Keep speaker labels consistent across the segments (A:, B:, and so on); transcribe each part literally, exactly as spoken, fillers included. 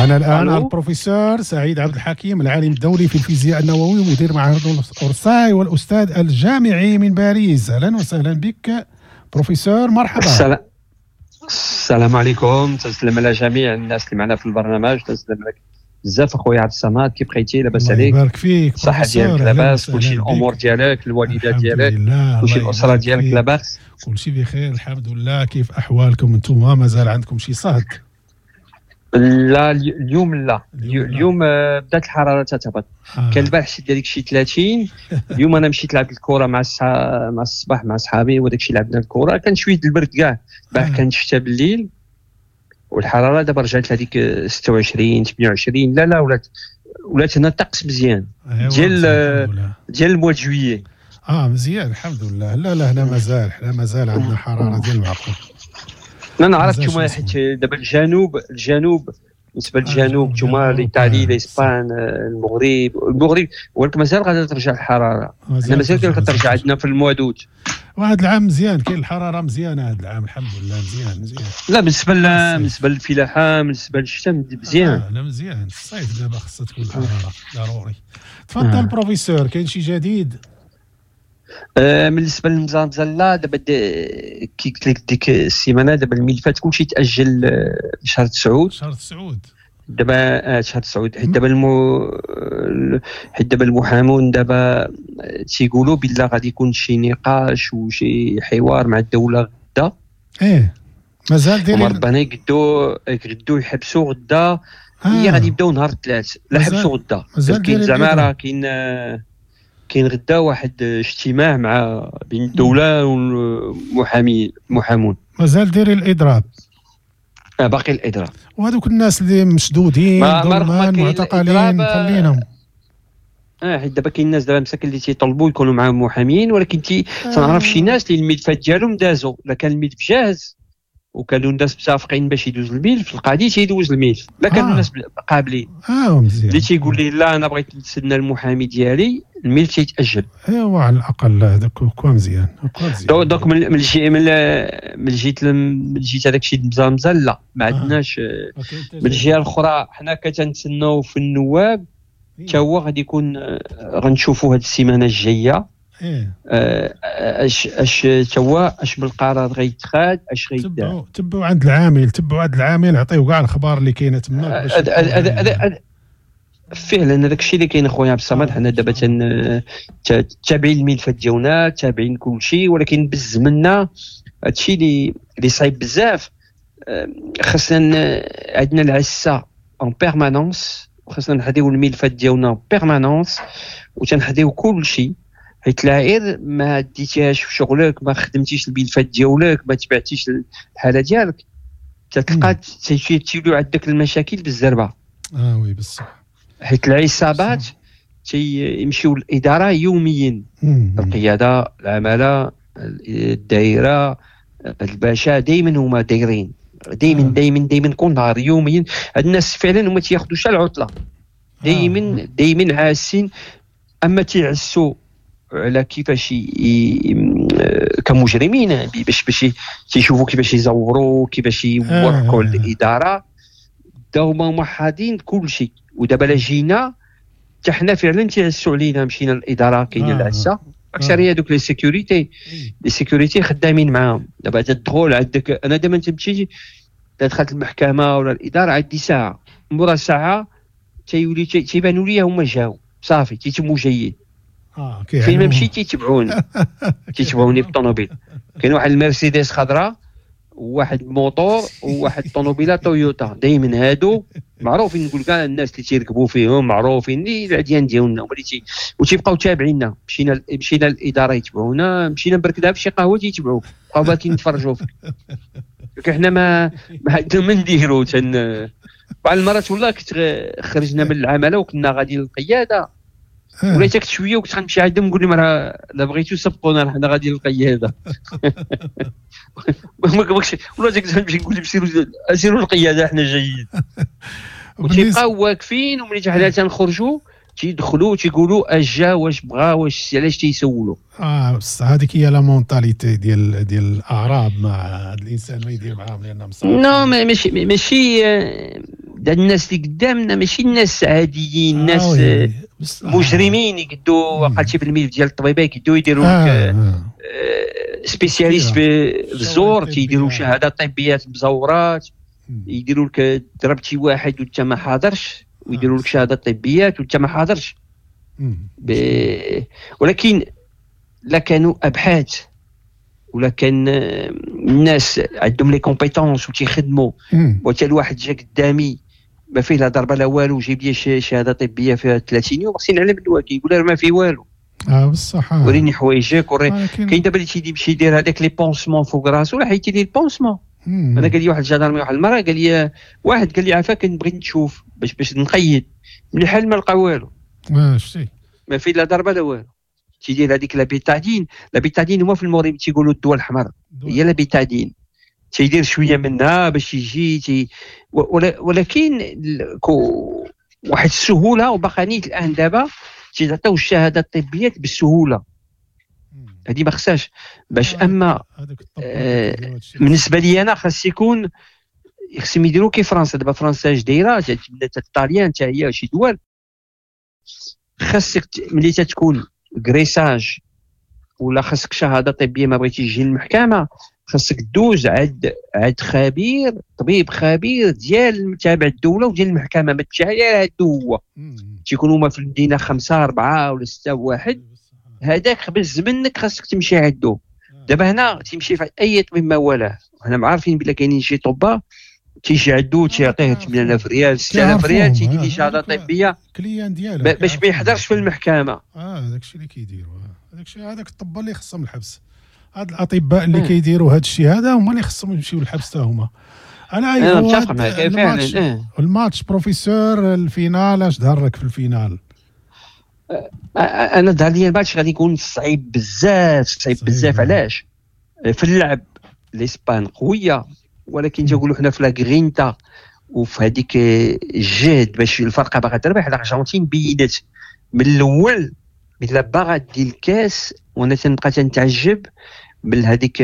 A: معنا الان
B: ألو.
A: البروفيسور سعيد عبد الحكيم، العالم الدولي في الفيزياء النووي ومدير معهد اورساي والاستاذ الجامعي من باريس. اهلا وسهلا بك بروفيسور، مرحبا.
B: السلام السلام عليكم، تسلم على جميع الناس اللي معنا في البرنامج، تسلم لك بزاف اخويا عبد الصمد. كيف بقيتي؟ لاباس
A: الله
B: عليك؟
A: يبارك فيك.
B: الصحة
A: بروفيسور،
B: ديالك
A: أهلاً
B: لاباس؟
A: وسهلاً
B: كلشي
A: بك.
B: الامور ديالك، الوالدة
A: الحمد
B: ديالك،
A: لله،
B: كلشي
A: الله
B: الاسرة
A: يبارك
B: ديالك
A: فيك.
B: لاباس؟
A: كلشي بخير الحمد لله. كيف احوالكم انتم؟ مازال عندكم شي صهد؟
B: لا، اليوم لا.
A: اليوم لا.
B: اليوم آه، بدات الحرارة تتهبط.
A: آه.
B: كان البارح شي ديالك شي ثلاثين. اليوم انا مشيت لعبت الكره مع الساعة مع الصباح مع صحابي وداك الشيء، لعبنا الكره، كان شوية البرد كاع البارح.
A: آه.
B: كانت الشتاء بالليل، والحرارة دابا رجعت لهذيك ستة وعشرين ثمانية وعشرين. لا لا، ولات ولات هنا الطقس مزيان.
A: أيوة،
B: ديال
A: مزيان، الحمد لله.
B: ديال ال mois de juillet.
A: اه مزيان الحمد لله. لا لا، هنا مازال، حنا مازال عندنا حرارة ديال المعقول.
B: لا نعرف.
A: مازال
B: نتوما
A: شي
B: حيت دابا الجنوب، الجنوب بالنسبة
A: آه،
B: للجنوب
A: الجنوب
B: نتوما
A: ديال
B: l'Italie،
A: أوروبا،
B: l'Espagne، آه، المغرب المغرب ولكن مازال غادا ترجع الحراره. حنا مازال
A: ترجع،
B: كترجع
A: مازال.
B: عندنا في ال mois d'août.
A: وهذا العام مزيان، كاين الحرارة مزيانه هذا العام الحمد لله، مزيان مزيان.
B: لا، بالنسبة ل-
A: الصيف.
B: بالنسبة للفلاحه، بالنسبة للشتاء مزيان.
A: آه لا مزيان، الصيف دابا خصها تكون الحرارة ضروري. تفضل.
B: آه.
A: بروفيسور، كاين شي جديد؟
B: آه، بالنسبة للمزامزه لا، دابا د- كي قلت لك ديك السيمانه، دابا الملفات كلشي تاجل آه، لشهر تسعود.
A: شهر تسعود.
B: دابا آه، شهر تسعود، حيت دابا المو حيت دابا المحامون دابا تيقولوا بلا غادي يكون شي نقاش وشي حوار مع الدولة غدا.
A: ايه مازال
B: هما
A: دايرين.
B: ربنا يقدو يقدو يحبسوا غدا.
A: آه.
B: هي غادي يبداو نهار الثلاث لا
A: مازال-
B: حبسوا غدا.
A: مازال
B: كاين
A: دايرين
B: زعما
A: الإضراب.
B: راه كاين آه، كاين غدا واحد اجتماع مع بين الدولة والمحامي المحامون.
A: مازال دايرين الاضراب.
B: آه، باقي الاضراب.
A: وهذوك الناس اللي مشدودين
B: ما- ما رغم
A: ظلما
B: كاين
A: معتقلين
B: الإضراب، آه،
A: خلينهم.
B: اه حيت دابا كاين الناس دابا مساكن اللي تيطلبوا يكونوا معاهم محامين، ولكن تي تنعرف شي ناس اللي الملفات ديالهم دازوا، لا كان الملف جاهز وكانوا الناس متفقين باش يدوز الملف، القاضي تيدوز الملف، لا كانوا
A: آه.
B: الناس قابلين.
A: اه مزيان.
B: اللي تيقول لي لا انا بغيت نتسنى المحامي ديالي، الملف تيتاجل.
A: ايوا على الاقل هذاك كوا مزيان، كوا مزيان.
B: donc donc من من الجي من من جهة من جهة هذاك الشيء مزال لا ما
A: آه.
B: عندناش.
A: ما كاين حتى
B: من الجهة الاخرى حنا كتنتسناو في النواب،
A: إيه.
B: حتى هو غادي يكون آه، غنشوفوا هذه السيمانة الجاية.
A: ايه
B: آه، اش اش تا هو اش بالقرار غيتخاد، اش غيدار.
A: تبعوا تبعوا عند العامل، تبعوا عند العامل، عطيو كاع الاخبار اللي كاينه تماك باش
B: هذا- هذا- هذا- هذا- فعلا هذاك الشيء اللي كاين اخويا عبد الصمد.
A: آه.
B: حنا دابا تن- تا- تابعين الملفات ديالنا، تابعين كل شيء، ولكن بالزمنه هادشي اللي اللي صعيب بزاف. آه، خاصنا ن- عندنا العسه en permanence، وخاصنا نحضيو الملفات ديالنا en permanence وتنحضيو كل شيء، حيت العائر ما ديتيهاش في شغلك، ما خدمتيش الملفات ديالك، ما تبعتيش الحالة ديالك، تتلقى تيوليو عندك المشاكل بالزربه.
A: اه oui بصح.
B: حيت العصابات تيمشيو للادارة يوميا.
A: مم.
B: القياده، العماله، الدائره، الباشا، دائما هما دايرين دائما.
A: آه.
B: دائما دائما كل نهار يوميا هاد الناس فعلا هما تياخذوا العطلة دائما، دائما عاسين. اما تيعسوا على كيفاش ي... ي... كمجرمين باش باش تيشوفوا كيفاش يزوروا، كيفاش يورقوا
A: آه.
B: الاداره. دا هما هما حاضين كل شيء. ودابا لا جينا حتى حنا فعلا تيعسوا علينا، مشينا للادارة كاينه
A: آه.
B: العسه اكثرية دوك les sécurités.
A: إيه.
B: les sécurités خدامين معاهم. دابا تدخل عندك، انا دابا تمشي دخلت المحكمة ولا الادارة عندي ساعه، مورا ساعة تيولي تي- تيبانوا لي هما جاو صافي، تيتموا جايين.
A: اه
B: فين ما
A: كيعلموهم.
B: مشيت تيتبعوني، تيتبعوني بالطوموبيل. كاين واحد المرسيدس خضراء وواحد موتور وواحد طوموبيله تويوتا، دائما هادو معروفين، نقول كاع الناس اللي تيركبوا فيهم معروفين، اللي العديان ديالنا هما اللي تي وتيبقاو تابعينا. مشينا مشينا للادارة يتبعونا، مشينا نبركدها في شي قهوة تيتبعوك، بقاو باكين يتفرجوا فيك. لكن حنا ما ما عندنا ما نديرو. تن بعض المرات والله كنت غ- خرجنا من العمالة وكنا غاديين للقياده،
A: آه.
B: وليت كنت شوية وكنت غنمشي عندهم نقول لهم راه لا بغيتو سبقونا، راه حنا غاديين للقياده. ما كنبغيش ولا كنت غنمشي نقول لهم سيروا سيروا للقياده حنا جايين.
A: وبالنسبة-
B: وتيبقاو واقفين، وملي حنا تنخرجوا تيدخلوا تيقولوا اش جا، واش بغا، واش علاش تيسولوا.
A: اه بصح هذيك هي la mentalité ديال ديال الاعراب، مع هذا الانسان ما يدير معاهم لان مصعب.
B: non ماشي ماشي آه، الناس اللي قدامنا ماشي الناس عاديين، الناس آه مجرمين يقدوا قالتي في الملف ديال الطبيبة يقدوا يديروا لك آه. آه. spécialiste في الزور، تيديروا شهادات طبيات مزورات، يديروا لك ضربتي واحد وانت ما حاضرش، ويديروا لك شهادات طبيات وانت ما حاضرش. ب... ولكن لا كانوا ابحاث ولا كان الناس عندهم les compétences وتيخدموا، وتا الواحد جا قدامي ما فيه لا ضربه لا والو، جايب لي شهادة طبية فيها ثلاثين يوم، خصني نعلم الوكيل يقول ما فيه والو.
A: اه بصح
B: وريني حوايجك وري. كاين دابا اللي تيمشي يدير هذاك les pansements فوق راسو، راه حيدتي لي ال pansement. انا قال لي واحد ال gendarme واحد المرة، قال لي واحد قال لي عافاك نبغي نشوف باش باش نقيد، ملي حال ما لقى والو.
A: اه شتي
B: ما فيه لا ضربه لا والو. تيدير هذيك la bétadine، la bétadine هما في المغرب تيقولوا الدواء الاحمر، هي la bétadine، تيدير شوية منها باش يجي تي ولكن واحد السهولة. وباقا نيت الان دابا تيعطيو الشهادات الطبيات بالسهوله، هذه ما خصهاش باش. اما آه بالنسبة لي انا خاص يكون خصهم يديروا كي فرنسا دابا. فرنسا اش دايرة؟ الطاليان حتى هي شي دول، خاصك ملي تتكون agressage ولا خاصك شهادة طبية ما بغيتي تجي للمحكمه، خاصك دوز عند عند خبير، طبيب خبير ديال تابع الدولة وديال المحكمه، ما تمشي على هادو هو تيكونوا هما في المدينة خمسة اربعة ولا ستة واحد، هذاك بز منك خاصك تمشي عندو. دابا هنا تمشي في اي طبيب ما والاه، حنا عارفين بلا كاينين شي طبا تيجي عندو تيعطيه ثمانية آلاف ريال ستة آلاف ريال، تيدي ليه شهادة طبية
A: client ديالو
B: باش ما يحضرش في المحكمه.
A: اه داك الشيء اللي كيديروا، هذاك الشيء هذاك الطبا اللي خصهم الحبس، هاد الاطباء اللي كيديروا هذا الشيء هذا هما اللي خصهم يمشيو للحبس حتى هما.
B: انا انا متفق معك فعلا.
A: ال match professeur ال finale اش ظهر لك في ال finale؟
B: انا ظهر لي الماتش غادي يكون صعيب بزاف، صعيب بزاف. علاش؟ في اللعب الاسبان قويه، ولكن تنقولوا حنا في la grinta وفي هذيك الجهد باش الفرقة باغا تربح. الارجنتين بينت من الاول بلا باغا دير الكاس، وانا تنبقى تنتعجب من هذيك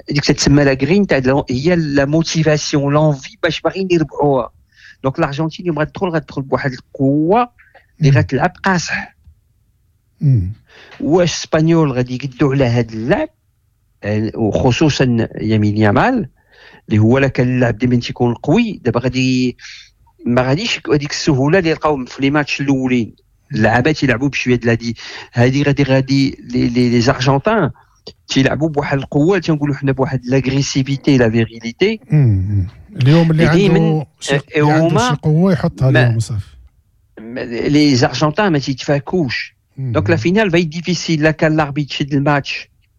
B: هذيك تتسمى la grinta، هي la motivation، l'envie باش باغيين يربحوها. donc الارجنتين يوم غتدخل غتدخل بواحد القوة اللي غتلعب قاصح. واش Espagnols غادي يقدوا على هذا اللعب؟ وخصوصا يمين يامال اللي هو لا كان اللعب ديما تيكون قوي، دابا غادي ما غاديش هذيك السهولة اللي لقاو في les matchs الاولين. اللعابات يلعبوا بشوية ديال هذه غادي غادي les les les Argentins تيلعبوا بواحد القوه، تنقولوا حنا بواحد l'agressivité، la virilité.
A: اليوم اللي عنده شي عنده شي قوة يحطها اليوم صافي.
B: les Argentins ما تيتفاكوش، donc la finale va être difficile. لا كان l'arbitre شد الماتش.